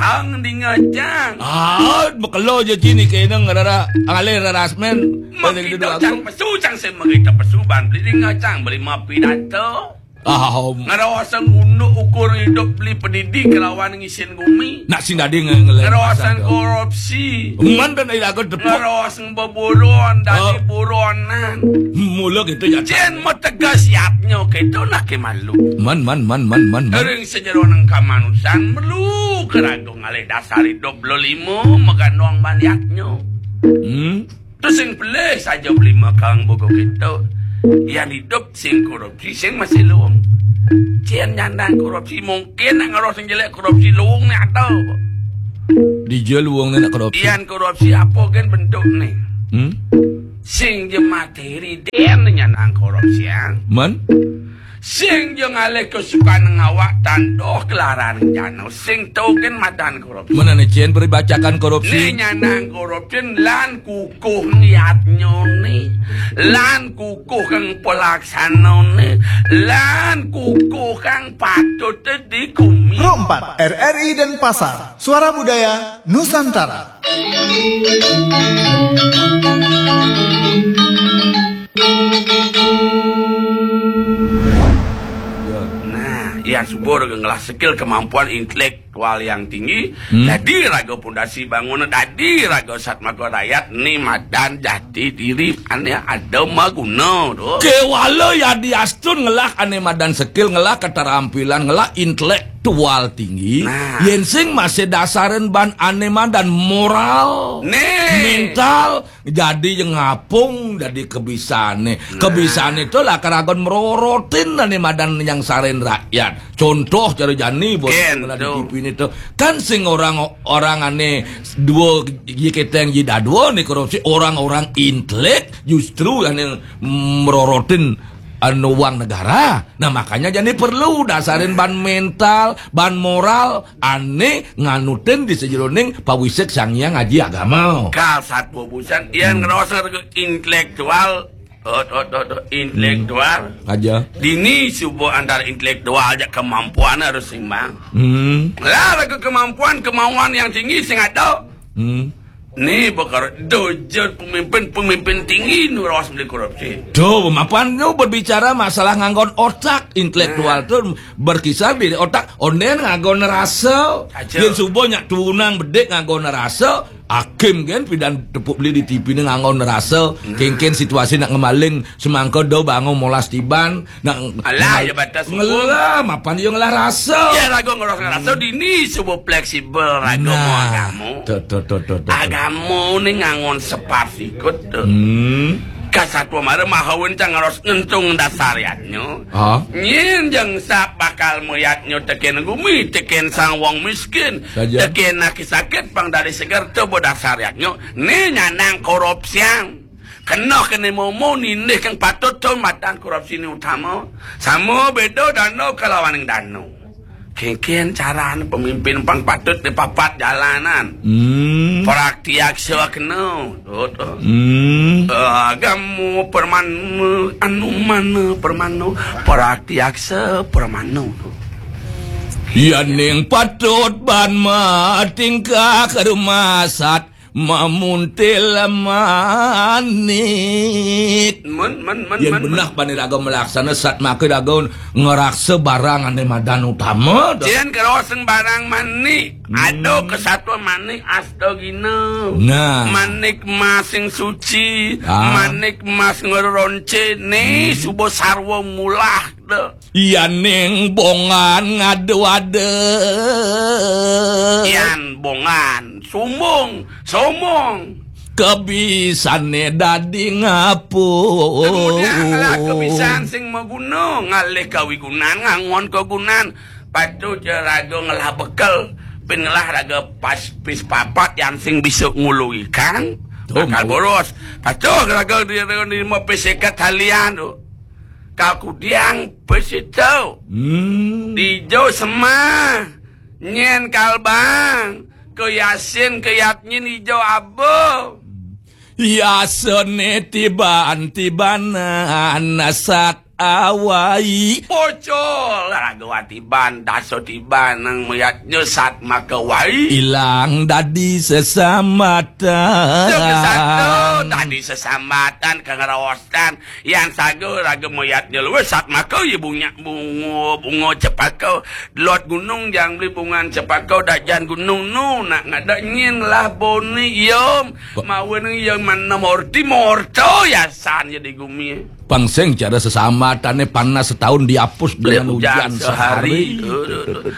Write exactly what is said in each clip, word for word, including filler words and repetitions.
Ang dingecang. Ah, makelo ja cai né kéné ngarara, ngalih rarasmén. Makita cang pesu, cang sing makita pesu, ban beli dingecang, beli mapi dato. Ah, om. Ngerosang unduk ukur hidup beli pendidik kelawan ngisin gumi. Nak sing dadi nge-, ngelih ngerosang pasar, korupsi. Man kan iraga tepuk. Ngerosang beburon, dadi buronan. Mula gitu ya. Cén mategas yatnya, kéto nak ké malu. Man, man, man, man, man, man. Ring sajeroning kamanusan, perlu keraga ngalih dasar hidup bela lima, magandong ban yatnya. Hmm. Tu sing pelih saja beli makang buku kita. Yan hidup sing korupsi, sing masih luung. Cén nyandang korupsi, mungkin nak ngeros sing jelek korupsi luung né ada. Dija luung né nak korupsi. Yan korupsi apa kan bentuk né? Hmm? Sing ja materi dén nyandang korupsi, ya. Man? Sing ja ngalih kesukaan ngawak tanduh kelaran jana. Sing to kan madan korupsi. Mana né cén peribacakan korupsi? Né nyandang korupsi lan kukuh niatnya né. Lan kukuh kang pelaksana né. Lan kukuh kang patut di gumi. Pro empat, R R I Denpasar, Suara Budaya Nusantara. Nah, yang subur ngelah skill kemampuan intelektual yang tinggi. Hmm. Dadi raga pondasi bangunan, dadi raga satmaka rakyat, né madan jati diri ané ada maguna, to. Kéwala yadiastun ngelah ané madan skill, ngelah keterampilan, ngelah intelektual tinggi. Nah. Yén sing masih dasarin ban ané madan moral, né, mental, jadi ja ngapung, jadi kebisané. Nah. Kebisané to lakar agon merorotin ané madan nyangsarin rakyat. Contoh cara jani buat kénto. Di T V né to. Kan sing orang, orang ané dua, ji keteng ji dadua né korupsi, orang-orang intelek justru ané merorotin anu uang negara. Nah, makanya jani perlu dasarin ban mental, ban moral, ané nganutin di sajeroning pawisik Sang Hyang Aji Agama. Kal satua busan, yan ngerasa intelektual, ot, ot, ot, ot, intelektual. Hmm. Aja. Dini subuh antara intelektual ja kemampuan harus seimbang. Hmm. Lah, lagu kemampuan, kemauan yang tinggi sing ada. Hmm. Né bakal dojo pemimpin-pemimpin tinggi nu raos beli korupsi. Tuh, mapan nu berbicara masalah nganggon otak, intelektual. Nah. Tuh berkisar di otak, ondén nganggon rasa. Aja. Yén suba nyak tunang bedik nganggon rasa, hakim kan pidan tepuk beli di T V né nganggon rasa. Nah. Kénkén situasi nak ngemaling, semangka do bangun molas tiban, nak alah, ngemal-, ya batas hukum. Ngelah, mapan ya ngelah rasa. Ya, raga ngelah rasa, hmm, dini suba fleksibel, raga. Nah, mau agama. Tuh, tuh, tuh, tuh, tuh, tuh. Agama né nganggon separsikut tuh. Hmm. Kasatua mara mahawen cang harus ngentung dasar yatnya. Ah. Nyén jeng sap bakal meyatnya tekén gumi, tekén sang wong miskin, saja, tekén naki sakit, pang dari seger tuh bo dasar yatnya. Né nyandang korupsian. Kena kéné momo nindih kang patut to madan korupsi né utama. Sama béda danau kalawaning danau. Kénkén carané pemimpin pang patut di papat jalanan. Hmm. Praktiaksa kena. Tuh, tuh. Hmm. Agama permana, anu mana permana, praktiaksa permana. Yaning patut ban matingkah rumasat mamuntil manik. Men, men, men, yén men, benah men. Pan iraga malaksana satmaka iraga ngraksa barang ané madan utama, dah. Cén karosang barang manik. Hmm. Ada kasatua manik astagina. Nah. Manik mas sing suci, ah, manik mas ngeronce, né, hmm, suba sarwa mulah, dah. Yaning bongan ngadu-adu. Yan bongan, sombong, sombong. Kebisané dadi ngapung. Kemudian ngelah kebisan sing maguna, ngalih kawigunan, ngangon kagunan. Patut ja raga ngelah bekel, pin ngelah raga pas pis papat yan sing bisa ngulu ikan. Tuh, bakal boros. Patut raga di, di, di lima pis seket halian, tuh. Kakudiang pesito. Hmm. Ijo semah. Nyén kalbang. Ke yasin, ke yatnyin ijo abo. Yasané tiban-tibanan sat awai. Pocol raga watiban, dasa tiban nang mayatnya satmaka wai. Ilang dadi sesamatan. Jeng satu dadi sesamatan kang raostan. Yan saga raga mayatnya luwih satmaka ya bunga, bunga, bunga cepaka. Lot gunung jang beli bungan cepaka dajan gunung nu nak ngada nyin lah boni yom. Mawa nang yang mana morti morto yasan ya di gumi. Pang sing cara sesamatane panas setahun dihapus dengan hujan sehari.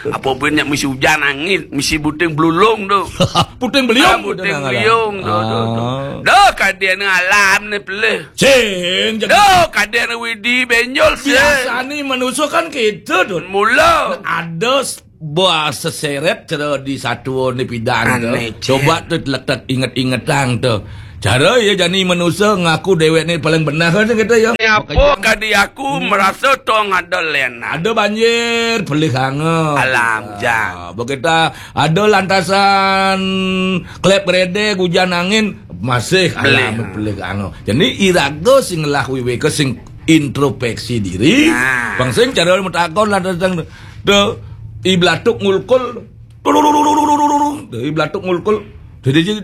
Apa pun nya misi hujan angin, misi buting belulung tu. Puting beliung. Ah, puting beliung tu, tu, tu. Ah. Dah kadin alam ni pelih. Sing, jadi dah kadin widi benjol sing. Biasane manusia kan gitu, Dun. Mula. Ada s-, buah seseret cara di satu ni pidan tu. Aneh, Cik. Coba tu letak inget-ingetang tu. Cara ya jani manusia ngaku dewek ni paling benar kan gitu ya. Apa kadi aku merasa tong ada lena. Ada banjir, pelih hanga. Alam jang. Ah, begitu ada lantasan klep gredek, hujan angin, masih pelih. Alam pelih hanga. Jadi iraga sing ngelah wiwika sing introspeksi diri. Nah. Pang sing cara matakon lantasan tu i blatuk ngulkul. Tululululululululul. Dari blatuk ngulkul. Jadi, jadi,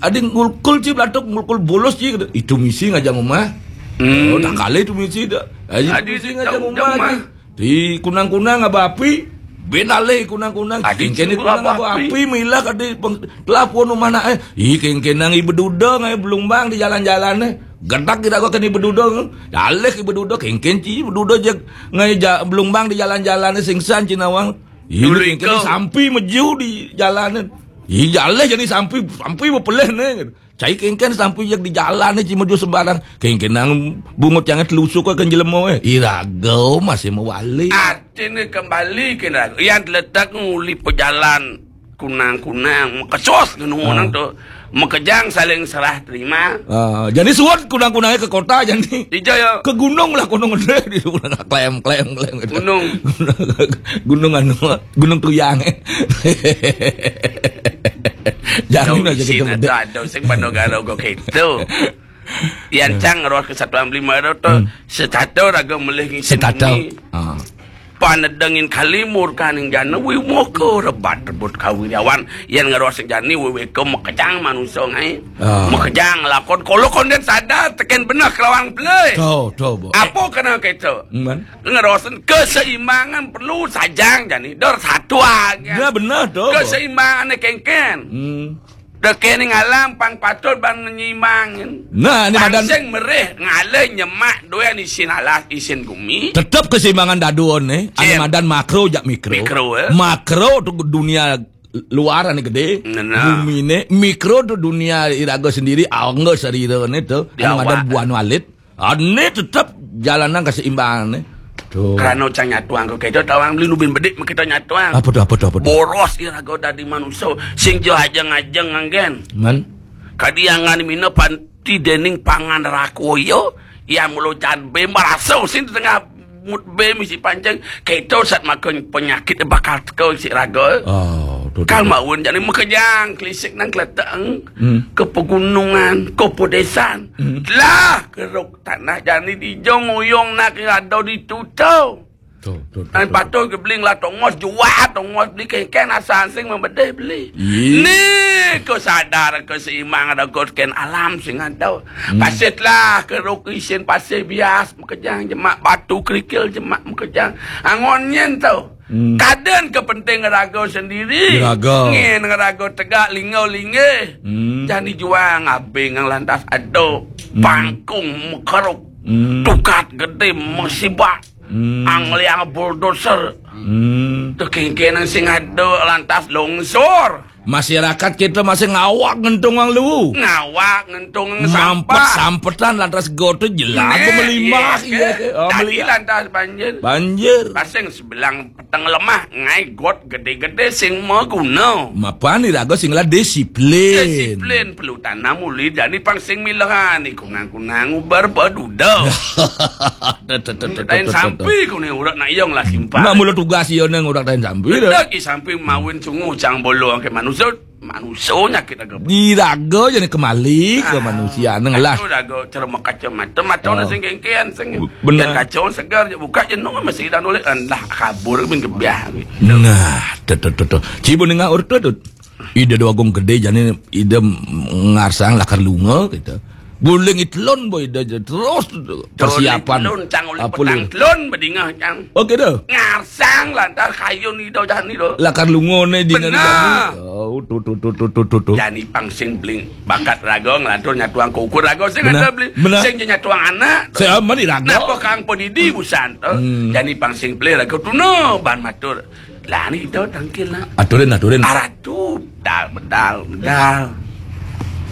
ada ngulkul ci blatuk, ngulkul bolos ci. Itu misi ngajang rumah. Hmm. Oh, tak kalah itu misi dah. Aji misi ngajang rumah. Di kunang-kunang aba api. Ben alih kunang-kunang. Kengkene kunang aba api, milah kadi peng-, telah pun rumah nak, eh. Ih, kengkenang ibu duda ngai belumbang di jalan-jalan, eh. Gedak kita kau kena ibu duda. Dalih ibu duda, kengken ci ibu duda je ngai ja-, belumbang di jalan-jalan, eh, singsan ci nawang. Ih, kengkene sampi meju di jalanan. Ih, jaleh jadi sampi, sampi bepeleh ne. Cai kengken sampi jak di jalan ne, ci meju sembarang. Kengkenang bungut yang telusuk ke jelema, eh. Iraga masih mewali. Artinya kembali ke raga. Yang terletak nguli pejalan kunang-kunang, mekesos ngenungan tu. Mekejang saling serah terima. Ah, jadi suat kunang-kunangnya ke kota, jadi. Ija ya. Ke gunung lah, gunung gede di gunung, klem, klem, klem gitu. Gunung. Gunung anu, Gunung Tuyang. Jangan aja kita gede. Ada sing pada garo kok gitu. Yan cang roh kesatuan beli maro tu. Hmm. Setata raga melih ngisi. Setata. Ah. Panedengin kali murkaning jana wi moka rebat rebut kawiryawan. Yan ngeros jani wi weka makejang manusa ngai. Ah. Makejang lakon kolo konden sadar teken beneh kelawang pelih. Tau, tau, bo. Apa kena kita? Man. Ngerosen keseimbangan perlu sajang jani. Dor satu aja. Ya, benar, tau, bo. Keseimbangan kengken. Hmm. Dekening alam pang patut ban nyimbangin. Nah, ini madan. Pang sing merih ngalih nyemak dua isin alas isin gumi. Tetep keseimbangan daduon ne. Ane madan makro jak mikro. Mikro, eh. Makro tu dunia luar ane gede. Nah, nah. Gumi ne. Mikro tu dunia iraga sendiri, angga sarira ne tu. Ane madan buan walit. Ane tetep jalanan keseimbangan ne. Tuh. Karena cang nyatuang kok kita tawang beli nubin bedik kita nyatuang. Apa tuh, apa tuh, apa tuh? Boros iraga dadi manusia sing jo ajeng-ajeng nganggen. Man. Kadi angan mina panti dening pangan rakoyo, ya mulo jan be marasa sing tengah mut be misi panceng. Kita sat makan penyakit bakal teko si raga. Oh, tuh, tuh, tuh. Kal maun jani makejang kelisik nang keleteng. Hmm. Ke pegunungan, ke pedesan. Hmm. Lah, keruk tanah jani di jong uyong nak ada di tutau. Tuh, tuh, tuh. Ai tuh, patuh tuh. Gebling lah tongos jua tongos beli kengken asal sing membedeh beli. Ih. Ni ko sadar keseimbangan ada ken alam sing ada. Hmm. Pasitlah keruk isin pasir bias makejang jemak batu kerikil jemak makejang. Angon nyen tau. Hmm. Kaden ke penting raga sendiri. Raga. Ngen raga tegak lingau linggih. Hmm. Jani juang abing ngang lantas aduk. Hmm. Pangkung mekeruk. Hmm. Tukat gede mesibak. Hmm. Angliang bulldozer. Hmm. Tekengkenang sing aduk lantas longsor. Masyarakat kita masih ngawak ngentung ang lu. Ngawak ngentung ang sampah. Mampet sampetan lantas goto jelas. Nih, melimah, iya, iya, ke. Oh, tadi melimah. Lantas banjir. Banjir. Pasing sebelang peteng lemah, ngai got gede-gede sing maguna. Mapan iraga sing lah disiplin. Disiplin, perlu tanam uli jani pang sing milehan, ikunang-kunang ubar baduda. Tain sampi kune urak nak iyong lah simpang. Nak mula tugas iya nang urak tain sampi dah. Lagi sampi mawin sungu cang bolo angke manusia. Manusia nyakit raga. Di raga jani kembali ke manusia. Nang lah. Raga cerama kaca mata, mata orang sing kengkean, sing. Benar. Yang kaca segar je buka, jenuh masih dah nolak. Lah, kabur bin kebiah. Nah, tu, tu, tu, tu. Cibu dengar urut tu. Ida Dua Agung Gede jani ida ngarsang lakar lunga kita. Guling itelun boy ida je terus persiapan. Itelun cang oleh petang telun bedingah cang. Oke dah. Ngarsang lantar kayun ida jani tu. Lakar lunga ne dina. Benar. Oh, tu, tu, tu. Jani pang sing bling bakat raga ngelantur nyatuang kukur raga sing ada beli. Benar. Sing je nyatuang anak. Saya mah di raga. Napa kang pedidi busan tu? Jani pang sing beli raga tuna ban matur. Lah ni ida tangkil lah. Aturin, aturin. Aratu dal bedal bedal.